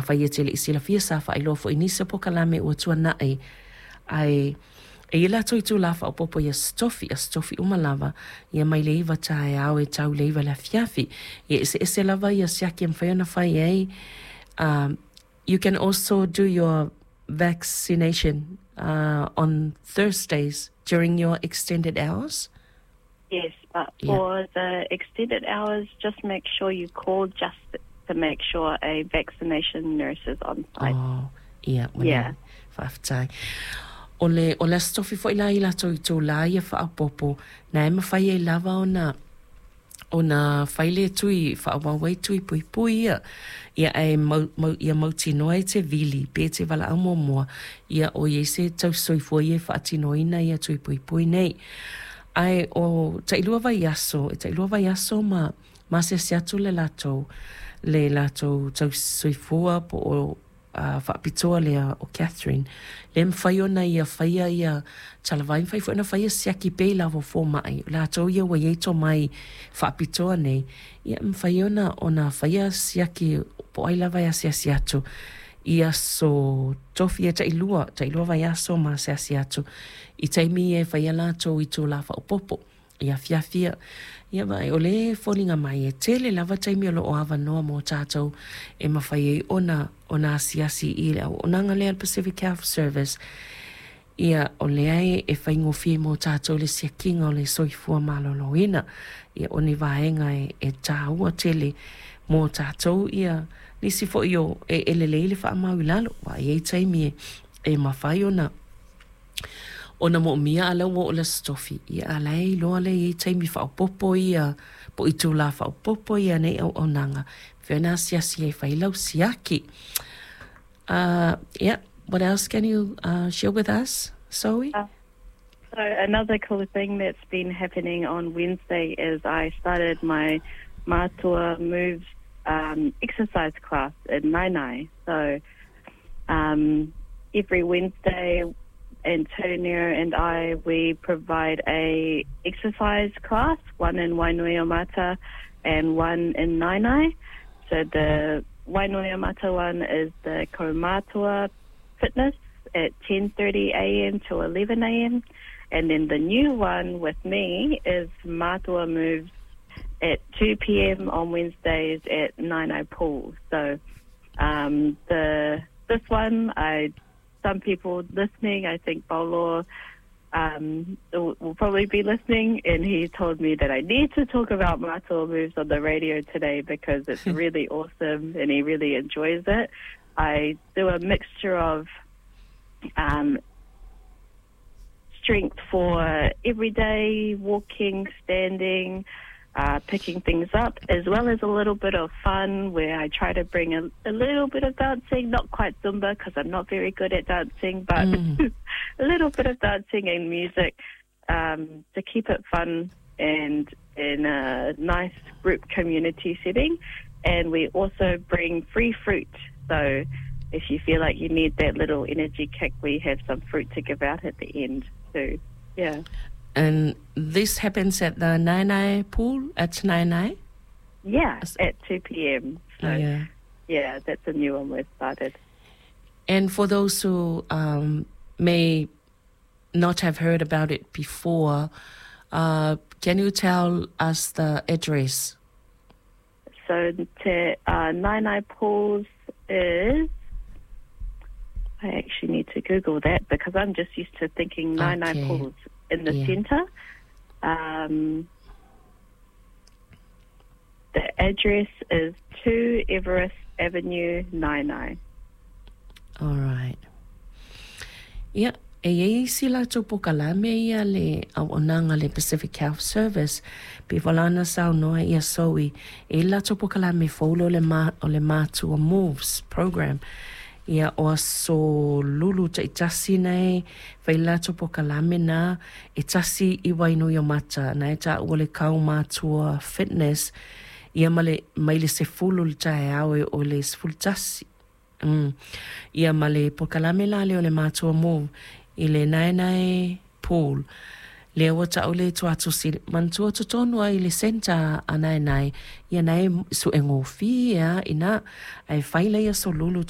Afai e te le'i silafia, sa faailoa foi i nisi o polokalame ua tuana'i, ae e i ai latou itulā faaopoopo i Aso Tofi, Aso Tofi uma lava, ia mai le 9 taeao e tau i le 9 i le afiafi. Ia e eseese lava ia siaki e mafai ona fai ai. You can also do your vaccination on Thursdays during your extended hours? Yes, but for the extended hours, just make sure you call just to make sure a vaccination nurse is on site. Oh, ia, yeah. Faafetai. O le, o le Aso Tofi foi la i latou itulā ia faaopoopo, na e mafai ai lava ona ona fai le tui faaauau ai tui puipui ia, ia ae mau, mau, ia mautinoa e te vili pe te valaau muamua, ia o i ai se tausisoifua ia e faatinoina ia tui puipui nei. Ae o tailua vaiaso, e tailua vaiaso ma ma asiasi atu le latou, le latou tausisoifua po o faapitoa lea o Catherine, lea e mafai ona ia faia ia talavai, mafai foi ona faia siaki pea i lava o fomai, o latou ia ua i ai tomai faapitoa nei, ia e mafai ona ona faia siaki po o ai lava e asiasi atu i aso Tofi e tailua, tailua vaiaso ma asiasi atu i taimi ia e faia latou itulā faaopoopo. I afiafi ia. Ia vaai, o lea e foliga mai e tele lava taimi o lo o avanoa mo tatou e mafai ai ona ona asiasi i le auaunaga lea a le Pacific Health Service. Ia, o lea e e faigofie mo tatou le siakiga o le soifua maloloina. Ia, o ni vaega e e taua tele mo tatou ia nisi foi o e e lelei le faamau i lalo, aua e i ai taimi e e mafai ona ona moomia a la ua oo i le Aso Tofi, ia a la e iloa lea e i ai taimi faaopoopo ia po o itulā faaopoopo ia nei auaunaga e mafai ona asiasi ai e fai lau siaki. Yeah, what else can you share with us, Zoe? So another cool thing that's been happening on Wednesday is I started my Mātua Moves exercise class in Naenae. So every Wednesday, Antonio and I, we provide a exercise class, one in Wainuiomata and one in Naenae. So the Wainuiomata one is the Kaumatua Fitness at 10.30 a.m. to 11 a.m. And then the new one with me is Mātua Moves at 2 p.m. on Wednesdays at Naenae Pool. So the this one, I some people listening, I think Paulo will, will probably be listening, and he told me that I need to talk about Mātua Moves on the radio today because it's really awesome and he really enjoys it. I do a mixture of strength for everyday walking, standing, picking things up, as well as a little bit of fun where I try to bring a, a little bit of dancing, not quite Zumba because I'm not very good at dancing, but a little bit of dancing and music to keep it fun and in a nice group community setting. And we also bring free fruit. So if you feel like you need that little energy kick, we have some fruit to give out at the end too. Yeah. And this happens at the Naenae pool at Naenae? Yeah, at 2 p.m. So, yeah. yeah, that's a new one we've started. And for those who may not have heard about it before, can you tell us the address? So te Naenae Pools is I actually need to Google that because I'm just used to thinking Naenae Pools in the centre. The address is 2 Everest Avenue, Naenae. All right. Ia, e i ai isi latou polokalame ia le auaunaga a le Pacific Health Service, pei foi la ona saunoa ia Zoe, e i ai le latou polokalame fou lea o le ma, o le Mātua Moves Program. Ia, o aso Lulu taitasi nei, fai le latou polokalame na, e tasi i Wainuiomata, na e taua le Kaumātua Fitness, ia ma le, mai le 10 i le taeao e oo i le 11. Ia ma le polokalame la lea o le Mātua Move i le Naenae Pool lea ua ta'u le tuatusi manatua totonu ai i le centre a Naenae ia na e su'e gofie a ina ae fai la ia solulu.